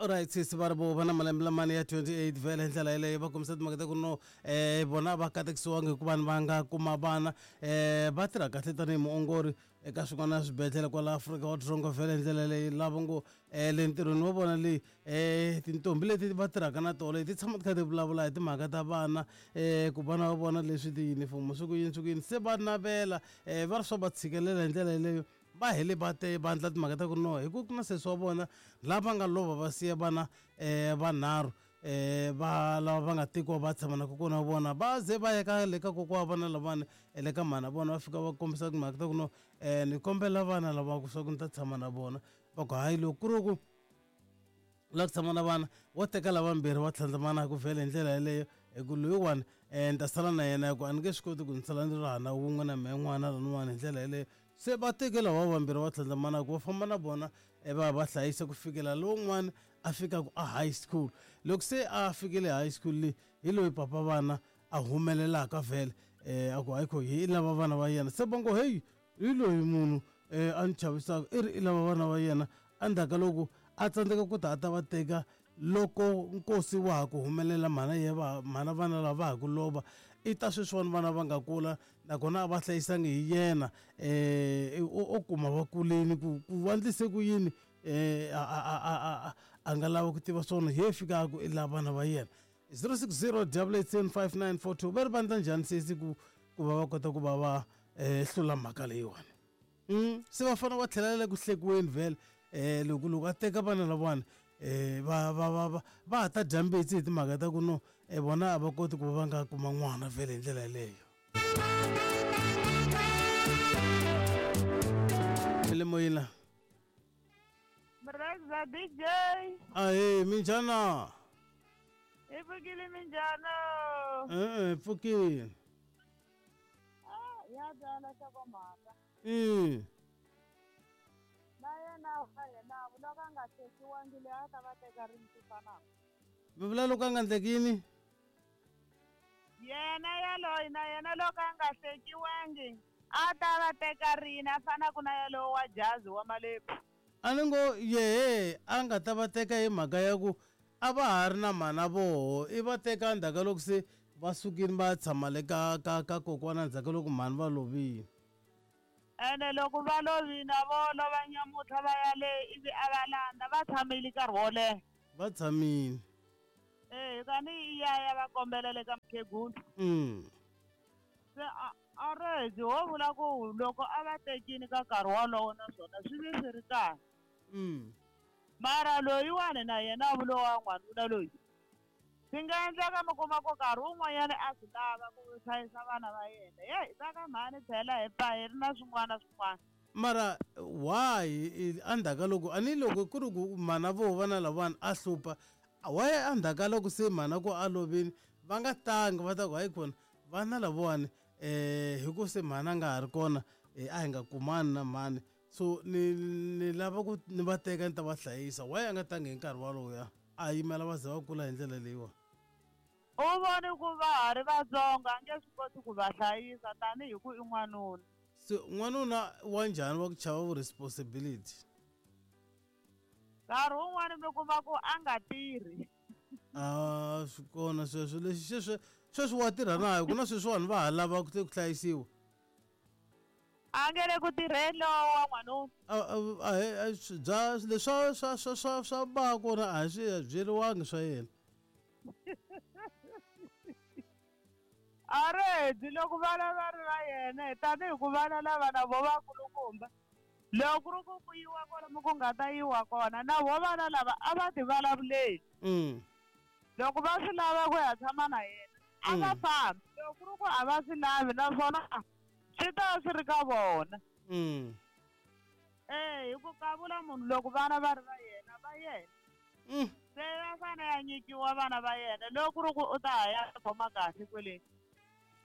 Alright sesi va ri vo va na malembe lamani ya 28 vhele hi ndlela yeleyo va kombisa timhaka ta ku no vona va katekisiwangi hikuva va nga kuma vana va tirha kahle tanihi muongori eka swin'wana swibedhlele kwala Afrika wa Dzonga vhele hi ndlela leyi lava ngo le ntirhweni wa vona leyi tintombi leti va tirhaka na tona ti tshama ti kha ti vulavula hi timhaka ta vana ku vana va vona leswi tiyunifomo swi ku yini swi ku yini se va navela va ri swa va tshikelela hi ndlela yeleyo. Va hele va te va endla timhaka ta ku no hi ku ku na sesi wa vona lava nga lova va siya vana vanharhu va lava va nga tekiwa va tshama na kokwana wa vona va ze va ya ka le ka kokwana wa vana lavawani le ka mhana vona va fika va kombisa timhaka ta ku no ni kombela vana lava swa ku ni ta tshama na vona va ku hayi loko ku ri ku u lava ku tshama na vana wo teka lavambirhi va tlhandlamana ku vhele hi ndlela yeleyo hi ku loyiwani ni ta sala na yena hi ku a ni nge swi koti ku ni sala ni ri hana wun'we na mehe n'wana laniwani hi ndlela yeleyo se va teke lava vambirhi va tlhandlamana ku va famba na vona va ya va hlayisa ku fikela lowun'wana a fikaka a high school loko se a fikile high school leyi hi loyi papa vana a humelelaka vhele a ku hayi kho hi lava vana va yena se va ngo heyi hi loyi munhu a ni chavisaka i ri i lava vana va yena endzhaku ka loko a tsandzeka ku ta a ta va teka loko nkosi wa ha ku humelela mhana ye va mhana vana lava va ha ku lova i ta sweswiwani vana va nga kula nakona a va hlayisangi hi yena o kuma va kuleni ku ku va ndlise ku yini a a nga lava ku tiva swona hi ye fika a ku i lava vana va yena 060 887 5942 va ri vandla njhani sesi ku ku va va kota ku va va hlula mhaka leyiwani se va fanele va tlhela le ku hlekiweni vhele loko loko a teka vana lavawani va va va va va ha ta dya mbitsi hi timhaka ta ku no vona a va koti ku va va nga kuma n'wana vhele hi ndlela yeleyo le moyeni la Mreza DJ. Ahee, minjhana? Hi pfukile minjhana? E-e, hi pfukile. Ah, ya twala nhlokomhaka. Na yena wa yena loko a nga tekiwangi loyi a ta va teka rini swi fanaka. Mi vula loko a nga endleki yini? Yena yaloyi na yena loko a nga hlekiwangi a ta va teka rini a fanaka na yalowo wa jazi wa malepfu. A ni ngo yehe a nga ta va teka hi mhaka ya ku a va ha ri na mhana voho i va teka endzhaku ka loko se va sukile va ya tshama le ka ka ka kokwana endzhaku ka loko mhani va lovile. Ene loko va lovile a vo lova nyamutlha va ya le ivi a va landza va tshamile nkarhi wo leha. Va tshamile. Eh, kani i ya ya va kombela le ka mukhegulu. Se a a rezi ho vula ku loko a va tekini ka nkarhi wolowo naswona swi ve swi ri kahle. Mara loyiwani na yena a vula wa n'wanuna loyi swi nga endleka mi kuma ku nkarhi wun'wanyana a swi lava ku hlayisa vana va yena yeyi va ka mhani phela hi pfa hi ri na swin'wana na swin'wana. Mara why endzhaku ka loko a ni loko ku ri ku mhana voho vana lavawani a hlupha why endzhaku ka loko se mhana ku a lovile va nga tangi va ta ku hayi khona vana lavawani hi ku se mhani a nga ha ri kona a hi nga kumani na mhani so ni ni lava ku ni va teka ni ta va hlayisa why a nga tangi hi nkarhi waloya a yimela va ze va kula hi ndlela leyiwani. U vone ku va ha ri vatsongo a nge swi koti ku va hlayisa tanihi ku i n'wanuna. Se n'wanuna wa njhani wa ku chava vu responsibility? Nkarhi wun'wani mi kuma ku a nga tirhi. A swi kona sweswo lexi sweswo sweswi wa tirha na ku na sweswiwani va ha lava ku ku hlayisiwa. A nge le ku tirheni lowa wa n'wanuna. A a a bya leswa swa swa swa swa ba kona a hi swi byeriwangi swa yena. A ri loko vana va ri va yena tanihi ku vana lava na vo vakulukumba loko ku ri ku ku yiwa kwalomu ku nga ta yiwa kona na vo vana lava a va ti vulavuleli loko va swi lava ku ya tshama na yena a va fambi loko ku ri ku a va swi lavi naswona swi ta va swi ri ka vona e hi ku kavula munhu loko vana va ri va yena va yena Se va fane ya nyikiwa vana va yena loko ku ri ku u ta ha ya khoma kahle kwele.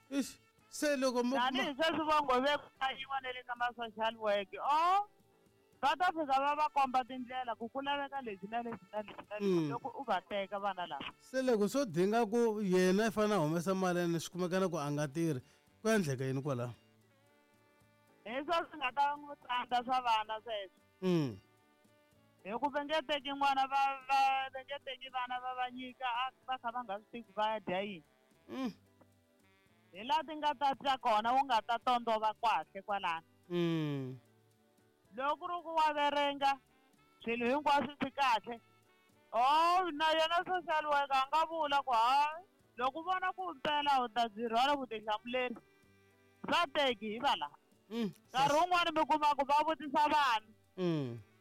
Ixi, se loko mo Tanihi sweswi vo ngo ve ku ta yiwa na le ka ma-social work o va ta fika va va komba tindlela ku ku laveka leswi na leswi na leswi na leswi loko u va teka vana lava. Se loko swo dinga ku yena i fanele a humesa mali ene swi kumeka na ku a nga tirhi ku ya endleka yini kwalaho? Hi swo swi nga ta n'wi tsandza swa vana sweswo. Hi ku va nge teki n'wana va va va nge teki vana va va nyika a va kha va nga swi tivi va ya dya yini. Hi laha ti nga ta twa kona u nga ta tondova kahle kwalano. Loko ku ri ku wa verenga swilo hinkwaswo swi kahle oh na yena social worker a nga vula ku hayi loko u vona ku mpela u ta byi rhwala vutihlamuleri va teki hi va laha. Nkarhi wun'wani mi kuma ku va vutisa vana.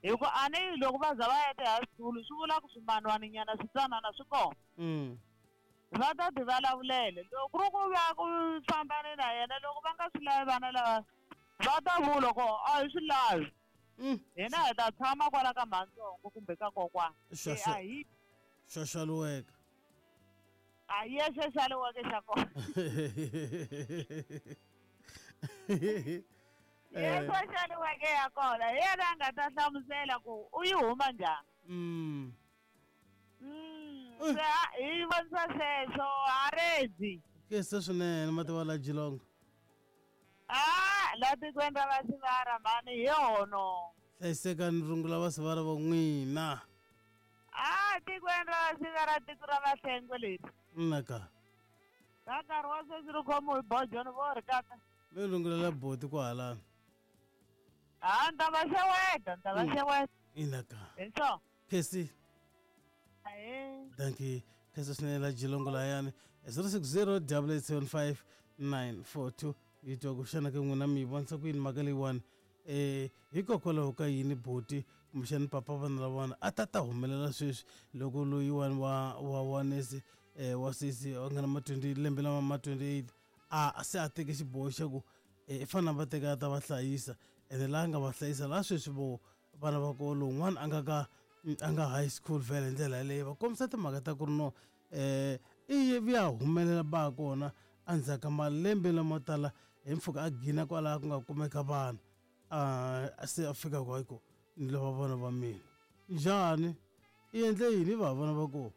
Hi ku a ni loko va za va ya ti-high school swi vula ku swimanwaninyana switsanana swi kona. Va ta ti vulavulele loko ku ri ku va ku fambane na yena loko va nga swi lavi vana lava va ta vula ku a hi swi lavi. Hina hi ta tshama kwala ka mhantsongo kumbe ka kokwana. Se a hi Xoxoliweka. A hi yexe xaliweke xa kona. Yexe xaliweke ya kona hi yena a nga ta hlamusela ku u yi huma njhani. Se hi vonisa sweswo haredzi. Kese swinene mativa la Jilongo. Ah, la tikweni ra Vasivara mhani hi hono. Hlayisekani rungula Vasivara va n'wina. Ah, tikweni ra Vasivara tiko ra Vahlengwe leri. Naka. Ka nkarhi wa sweswi ri khomiwe hi bojoni vo ri kaka. Mi rungulela boti kwahalano. Ah, ni ta va xeweta, ni ta va xeweta. Inaka. Hi swona. Kesi. Ahee. Dankie. Kesi swinene la Jilongo layani. 060 875 942 yi twa ku xana ke n'wina mi yi vonisa ku yini mhaka leyiwani hikokwalaho ka yini boti kumbexani papa vana lavana a ta ta humelela sweswi loko loyiwani wa wa wa nese wa sesi a nga na ma 20 lembe lama ma 28 a se a teke xiboho xa ku i fanele a va teka a ta va hlayisa ene laha nga va hlayisa laha sweswi vo vana va ko lowun'wana a nga ka a nga high school vhele hi ndlela yaleyo va kombisa timhaka ta ku ri no i vuya humelela ba kona endzhaku ka malembe lamo tala hi mpfhuka a gina kwalaha ku nga kumeka vana a se a fika ku hayi ku ni lava vana va mina njhani i endle yini va vana va kona.